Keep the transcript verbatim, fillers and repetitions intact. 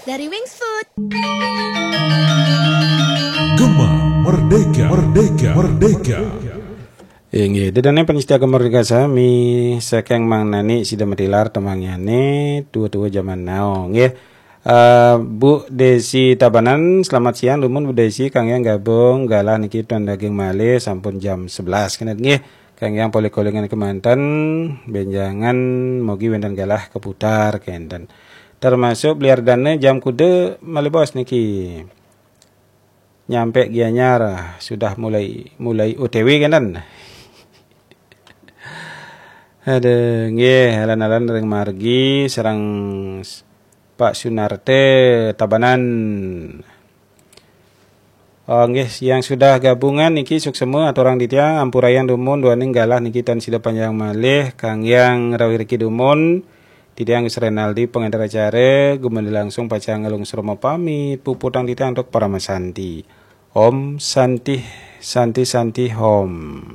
Dari Wings Food. Gema Merdeka, Merdeka, Merdeka. Inggih, ida dané panyidika Gema Merdeka sami, saking Mang Nani sida matilar tembangé, tua-tua zaman now. Nggih. Eh, Bu Desi Tabanan, selamat siang dumun Bu Desi, kangge gabung galah niki tuan daging malih sampun jam sebelas kene nggih. Kangge polih-kolingan kemanten, benjangan mogi wenten galah keputar kenten. Termasuk beliar dana jam kuda malih bos niki. Nyampe Gianyar sudah mulai mulai O T W kenten. Ada nggih, alan-alan ring margi sareng s- Pak Sunarte Tabanan. Oh, nggih, yang sudah gabungan niki suksema aturang titiang, ampurayang dumun duaning galah niki tan sida panjang malih kangge rawiriki dumun. Titiang Gus Renaldi pengantar acara, gumandha langsung pacang ngalungsur pamit, puputang titiang untuk parama santi. Om Santi Santi Santi Om.